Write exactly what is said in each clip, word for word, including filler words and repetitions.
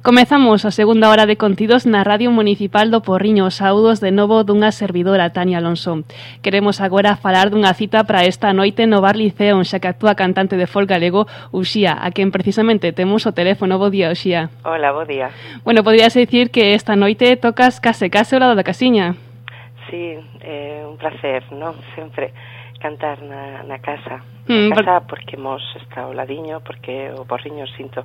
Comezamos a segunda hora de contidos na Radio Municipal do Porriño. Saúdos de novo dunha servidora, Tania Alonso. Queremos agora falar dunha cita para esta noite no Bar Liceo, xa que actúa cantante de folk galego, Uxía, a quen precisamente temos o teléfono. Bo día, Uxía. Hola, bo día. Bueno, podrías dicir que esta noite tocas case case ao lado da casiña. Sí, é eh, un placer, non? Sempre cantar na, na casa. Mm, Na casa por... porque mos está ao ladiño, porque o Porriño sinto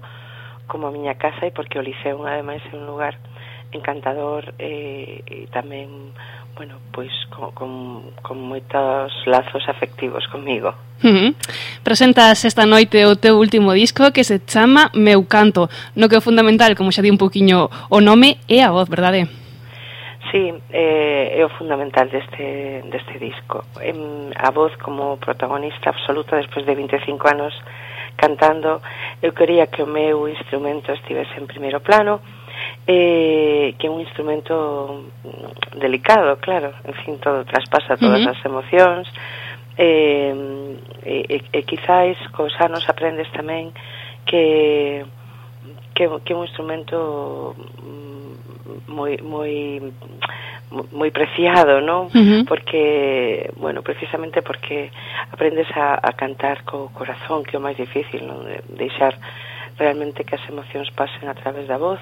como a miña casa e porque o Liceo ademais é un lugar encantador e, e tamén, bueno, pois con, con, con moitos lazos afectivos comigo. Uh-huh. Presentas esta noite o teu último disco que se chama Meu Canto, no que o fundamental, como xa di un poquinho o nome, é a voz, verdade? Sí, eh, é o fundamental deste, deste disco. Eh, a voz como protagonista absoluta despois de vinte e cinco anos cantando. Eu quería que o meu instrumento estivese en primeiro plano, eh, que é un instrumento delicado, claro, en fin, todo traspasa todas uh-huh. as emocións, eh, e, e, e quizáis cos anos aprendes tamén que que, que é un instrumento moi moi moi preciado, non? Uh-huh. Porque, bueno, precisamente porque aprendes a, a cantar co corazón, que é o máis difícil, non? De deixar realmente que as emocións pasen a través da voz,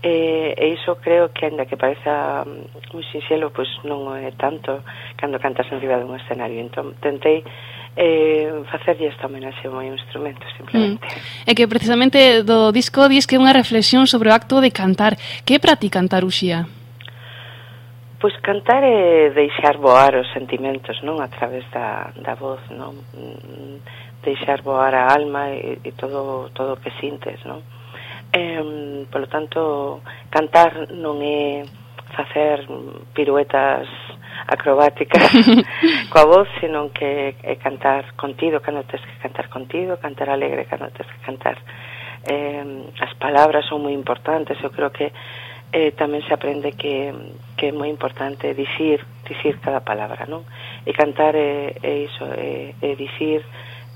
e, e iso creo que, ainda que pareza moi sinxelo, pois non é tanto cando cantas en riba dun escenario. Entón, tentei eh, facerlle esta homenaxe ao meu instrumento, simplemente. Mm. É que precisamente do disco dis que é unha reflexión sobre o acto de cantar. Que é para ti cantar, Uxía? Pois cantar é deixar voar os sentimentos, non? A través da, da voz, non? Deixar voar a alma e, e todo todo o que sintes, non? Eh, polo tanto, cantar non é facer piruetas acrobáticas coa voz, senón que é cantar contido cando tens que cantar contido, cantar alegre cando tens que cantar. Eh, as palabras son moi importantes, eu creo que eh, tamén se aprende que, que é moi importante dicir, dicir cada palabra, non? E cantar é, é iso, é, é dicir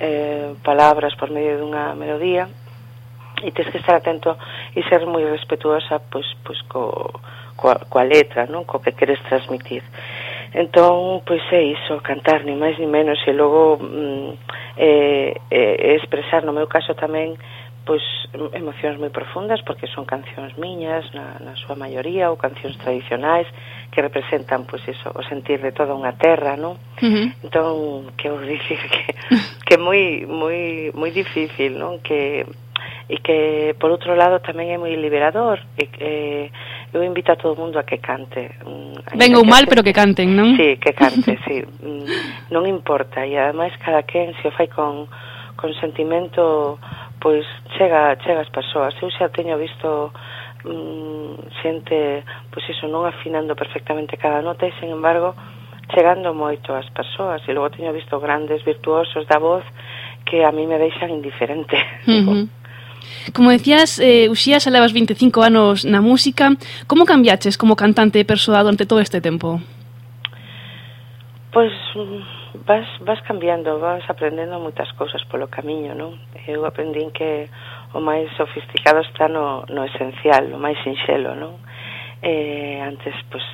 eh, palabras por medio dunha melodía, e tens que estar atento e ser moi respetuosa pois, pois co, coa, coa letra, non? Co que queres transmitir. Entón, pois é iso, cantar, ni máis ni menos, e logo mm, eh, eh, expresar, no meu caso tamén, pois emocións moi profundas, porque son cancións miñas na, na súa maioría, ou cancións tradicionais que representan, pois iso, o sentir de toda unha terra, non? Uh-huh. Entón, que vou dicir que que é moi moi moi difícil, non? Que e que por outro lado tamén é moi liberador, e que eu invito a todo o mundo a que cante. Ben ou mal, pero que canten, non? Sí, que cante, sí. Non importa, e ademais cada quen se o fai con con sentimento, pois chega, chega as persoas. Eu xa teño visto mm, xente, pois iso, non afinando perfectamente cada nota, e, sen embargo, chegando moito ás persoas. E logo teño visto grandes virtuosos da voz que a mí me deixan indiferente. Uh-huh. Como decías, eh, Uxía, xa levas vinte e cinco anos na música. Como cambiaches como cantante e persoa durante todo este tempo? Pois vas, vas cambiando, vas aprendendo moitas cousas polo camiño, non? Eu aprendín que o máis sofisticado está no, no esencial, o máis sinxelo, non? Eh, antes, pois,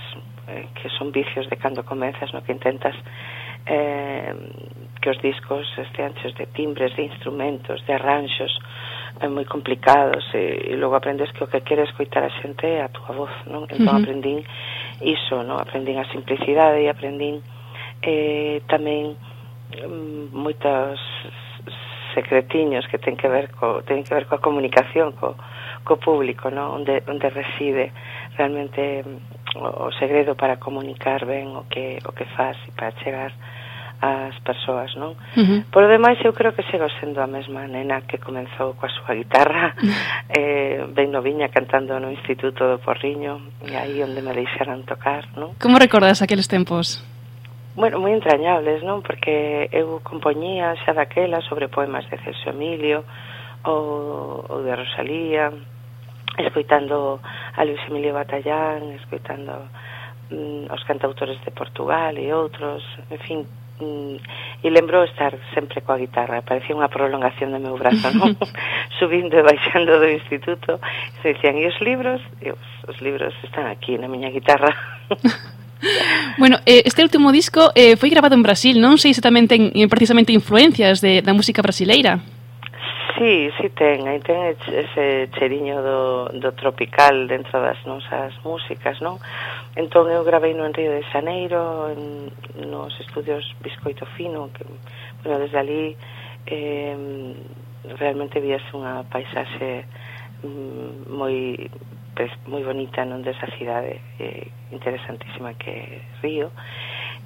eh, que son vicios de cando comezas, no? Que intentas eh, que os discos estean cheios de timbres, de instrumentos, de arranxos eh, moi complicados, e, e logo aprendes que o que quere escoitar a xente é a túa voz, non? Entón uh-huh. aprendín iso, non? Aprendín a simplicidade e aprendín eh, tamén mm, moitos secretiños que ten que ver co, ten que ver coa comunicación co, co público, non? Onde, onde reside realmente o, o segredo para comunicar ben o que, o que faz e para chegar ás persoas, non? Uh-huh. Por o demais, eu creo que sigo sendo a mesma nena que comenzou coa súa guitarra, eh, ben noviña, cantando no Instituto do Porriño, e aí onde me deixaran tocar, non? Como recordas aqueles tempos? Bueno, moi entrañables, non? Porque eu compoñía xa daquela sobre poemas de Celso Emilio ou, ou de Rosalía, escoitando a Luis Emilio Batallán, escoitando mm, os cantautores de Portugal e outros, en fin, e lembro estar sempre coa guitarra, parecía unha prolongación do meu brazo, non? Subindo e baixando do instituto, se dicían, e os libros? E os, os libros están aquí na miña guitarra. Bueno, eh, este último disco eh, foi grabado en Brasil, non sei se tamén ten eh, precisamente influencias de, da música brasileira. Sí, sí ten, aí ten ese cheriño do, do tropical dentro das nosas músicas, non? Entón eu gravei no en Río de Xaneiro, en, nos estudios Biscoito Fino, que, bueno, desde ali eh, realmente víase unha paisaxe mm, moi pues, moi bonita, non, desa cidade eh, interesantísima que é Río.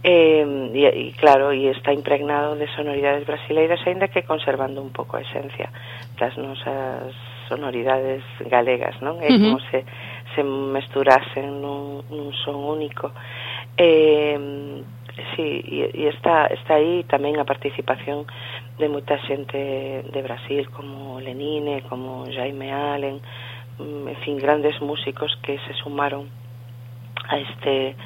Eh, e, e claro, e está impregnado de sonoridades brasileiras, aínda que conservando un pouco a esencia das nosas sonoridades galegas, non? É como uh-huh. se, se mesturasen nun, nun son único. Eh, sí, e, e está, está aí tamén a participación de moita xente de Brasil, como Lenine, como Jaime Allen, en fin, grandes músicos que se sumaron a este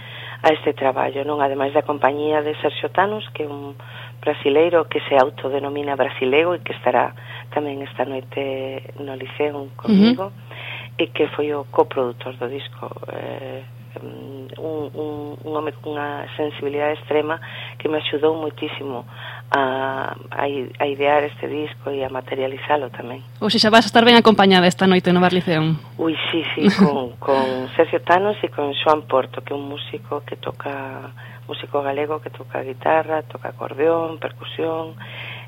a este traballo, non? Ademais da compañía de Sergio Thanos, que é un brasileiro que se autodenomina brasilego e que estará tamén esta noite no Liceo comigo, uh-huh. e que foi o coproductor do disco, eh, un, un, un home con unha sensibilidade extrema que me axudou moitísimo a, a, a idear este disco e a materializalo tamén. Ou seja, vas a estar ben acompañada esta noite no Bar Liceo. Ui, sí, sí, con, con Sergio Thanos e con Xoan Porto, que é un músico que toca, músico galego que toca guitarra, toca acordeón, percusión,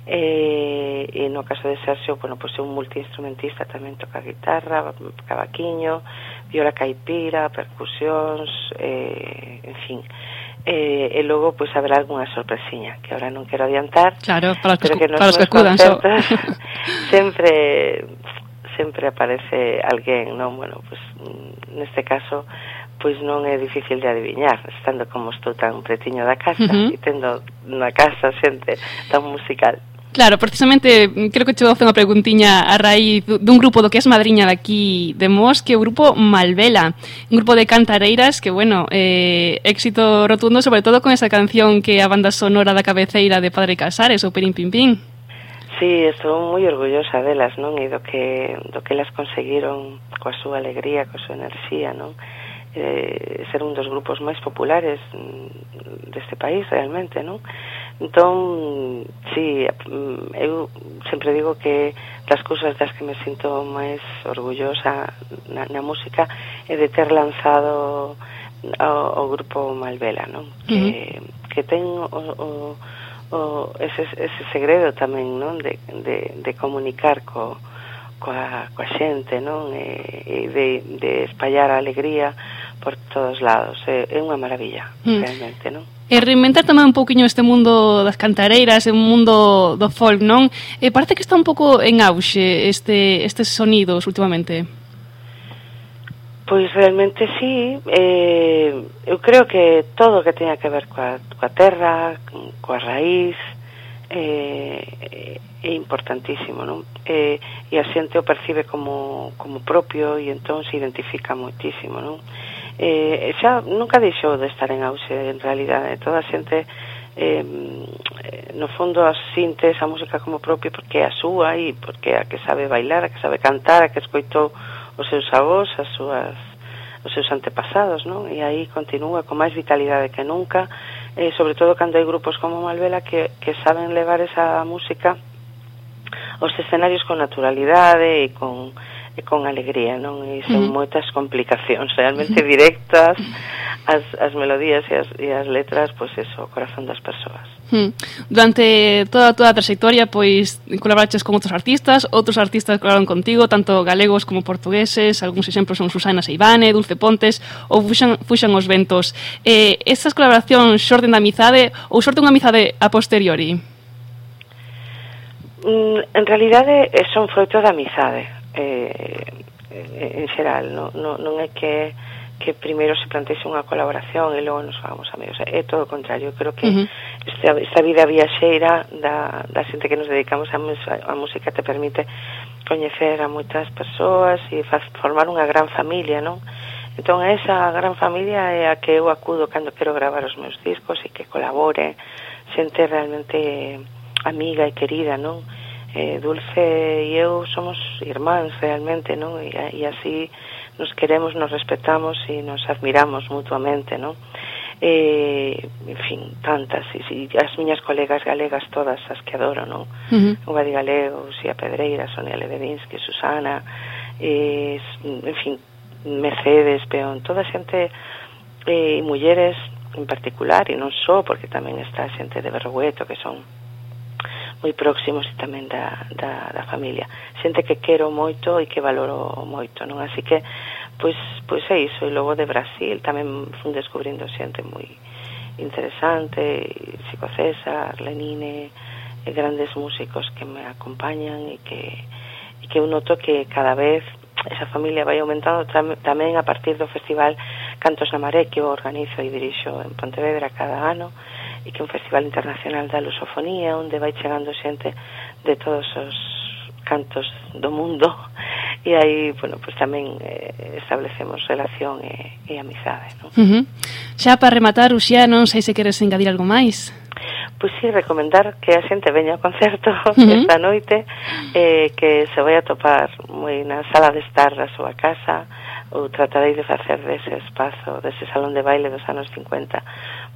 e, e no caso de Sergio, bueno, pois é un multiinstrumentista, tamén toca guitarra, cavaquiño, viola caipira, percusións, eh, en fin. Eh, e logo pois haberá algunha sorpresiña que ahora non quero adiantar, claro, para os que, que para os que acudan so. sempre sempre aparece alguén, non? Bueno, pois neste caso pois non é difícil de adiviñar, estando como estou tan pretiño da casa, uh-huh. e tendo na casa xente tan musical. Claro, precisamente, creo que te vou facer unha preguntiña a raíz dun grupo do que es madriña daqui de Mos, que é o grupo Malvela, un grupo de cantareiras que, bueno, eh, éxito rotundo, sobre todo con esa canción que é a banda sonora da cabeceira de Padre Casares, o Pirín Pim Pim. Sí, estou moi orgullosa delas, non? E do que, do que elas conseguiron coa súa alegría, coa súa enerxía, non? Eh, ser un dos grupos máis populares deste país, realmente, non? Entón, sí, eu sempre digo que das cousas das que me sinto máis orgullosa na, na música é de ter lanzado o, o grupo Malvela, non? Que, uh-huh. que ten o, o, o, ese, ese segredo tamén, non? De, de, de comunicar co, coa, coa xente, non? E, e de, de espallar a alegría por todos lados. É, é unha maravilla, uh-huh. realmente, non? E reinventar tamén un pouquiño este mundo das cantareiras, un mundo do folk, non? E parece que está un pouco en auxe este, estes sonidos últimamente. Pois realmente sí, eh, eu creo que todo o que teña que ver coa, coa terra, coa raíz, eh, é importantísimo, non? Eh, e a xente o percibe como, como propio e entón se identifica moitísimo, non? Eh, xa nunca deixou de estar en auxe, en realidade toda a xente eh, no fondo asinte esa música como propia porque é a súa e porque é a que sabe bailar, a que sabe cantar, a que escoitou os seus avós, as súas, os seus antepasados, non? E aí continúa con máis vitalidade que nunca, eh, sobre todo cando hai grupos como Malvela que, que saben levar esa música aos escenarios con naturalidade e con e con alegría, non? E son uh-huh. moitas complicacións realmente directas as, as melodías e as, e as letras, pois eso, o corazón das persoas. Uh-huh. Durante toda a túa trayectoria, pois, colaboraches con outros artistas, outros artistas colaboraron contigo, tanto galegos como portugueses, algúns exemplos son Susana Seivane, Dulce Pontes, ou Fuxan, Fuxan os Ventos. Eh, estas colaboracións xorden da amizade ou xorde unha amizade a posteriori? Mm, en realidade, son froito da amizade. Eh, en xeral non, non, non é que que primeiro se plantexe unha colaboración e logo nos fagamos amigos, é todo o contrario. Eu creo que uh-huh. esta, esta vida viaxeira da, da xente que nos dedicamos a, a música te permite coñecer a moitas persoas e faz, formar unha gran familia, non? Entón esa gran familia é a que eu acudo cando quero gravar os meus discos e que colabore xente realmente amiga e querida, non? Eh, Dulce e eu somos irmáns realmente, non? E, e así nos queremos, nos respetamos e nos admiramos mutuamente, non? Eh, en fin, tantas, e, e as miñas colegas galegas todas as que adoro, non? Uh-huh. O Gadi Galego, Xia Pedreira, Sonia Lebedinsky, Susana, eh, en fin, Mercedes, Peón, toda xente e eh, mulleres en particular, e non só, porque tamén está xente de Berrogueto, que son moi próximos e tamén da, da, da familia, xente que quero moito e que valoro moito, non? Así que pois, pois é iso. E logo de Brasil tamén fun descubrindo xente moi interesante, Chico César, Lenine, e grandes músicos que me acompañan e que, e que eu noto que cada vez esa familia vai aumentando tamén a partir do festival Cantos na Maré, que eu organizo e dirixo en Pontevedra cada ano, e que é un festival internacional da lusofonía, onde vai chegando xente de todos os cantos do mundo, e aí, bueno, pues tamén eh, establecemos relación e, e amizade, non? Uh-huh. Xa para rematar, Uxía, non sei se queres engadir algo máis. Pois sí, recomendar que a xente veña ao concerto uh-huh. esta noite, eh, que se vai a topar moi na sala de estar da súa casa, ou tratarei de facer dese espazo, dese salón de baile dos anos cincuenta,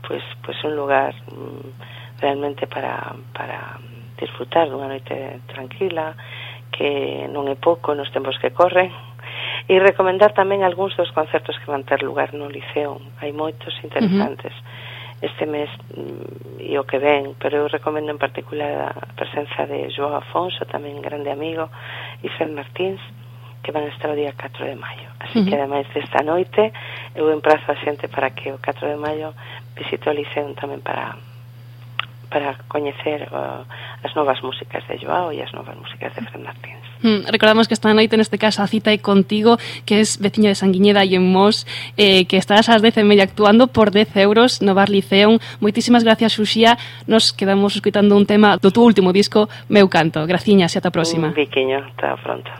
pois, pois un lugar mm, realmente para, para disfrutar dunha noite tranquila, que non é pouco nos tempos que corren, e recomendar tamén algúns dos concertos que van ter lugar no Liceo. Hai moitos interesantes uh-huh. este mes mm, e o que ven, pero eu recomendo en particular a presenza de João Afonso, tamén grande amigo, e Fred Martins, que van a estar o día catro de maio. Así uh-huh. que, ademais desta noite, eu emprazo a xente para que o catro de maio visite o Liceo tamén para para coñecer uh, as novas músicas de Joao e as novas músicas de Fred Martins. Mm, recordamos que esta noite, neste caso, a cita é contigo, que es veciña de Sanguiñeda e en Mos, eh, que estás ás dez e media actuando por dez euros no Bar Liceum. Moitísimas gracias, Uxía. Nos quedamos escutando un tema do tu último disco, Meu Canto. Graciñas e ata a próxima. Un biquiño, ata pronto.